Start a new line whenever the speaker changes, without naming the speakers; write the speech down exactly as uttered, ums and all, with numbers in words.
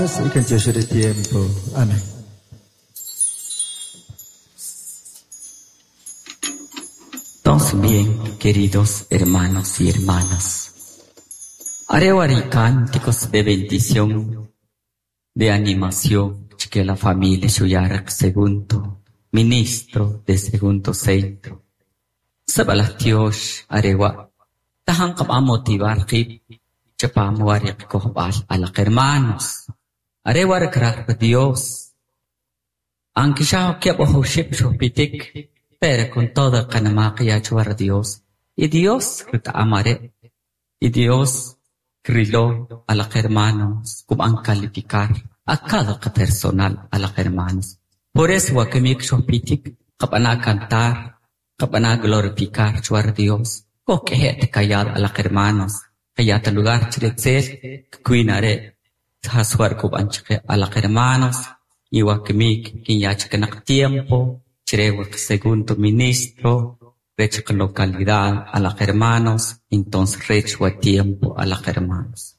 Y que tiempo. Amén.
Entonces bien, queridos hermanos y hermanas, haré cánticos de bendición, de animación, que la familia Shuyarek segundo, ministro de segundo centro. Sabalas arewa, tahan a motivar chapam wariq kohbal a los hermanos. Arewa Dios. Aunque ya que pitik, pero con todo el Dios. Y Dios amaré. Y Dios griló a los hermanos, como han calificar a cada personal a los hermanos. Por eso que mi pitik, a cantar, a glorificar a Dios. O que callar a los hermanos. Kaya lugar chiretzel, kuinare, haswar kubanchke a los hermanos, iwakmik, kinyachkanak tiempo, chirewak segundo ministro, rech localidad a los hermanos, entonces rechwa tiempo a los hermanos.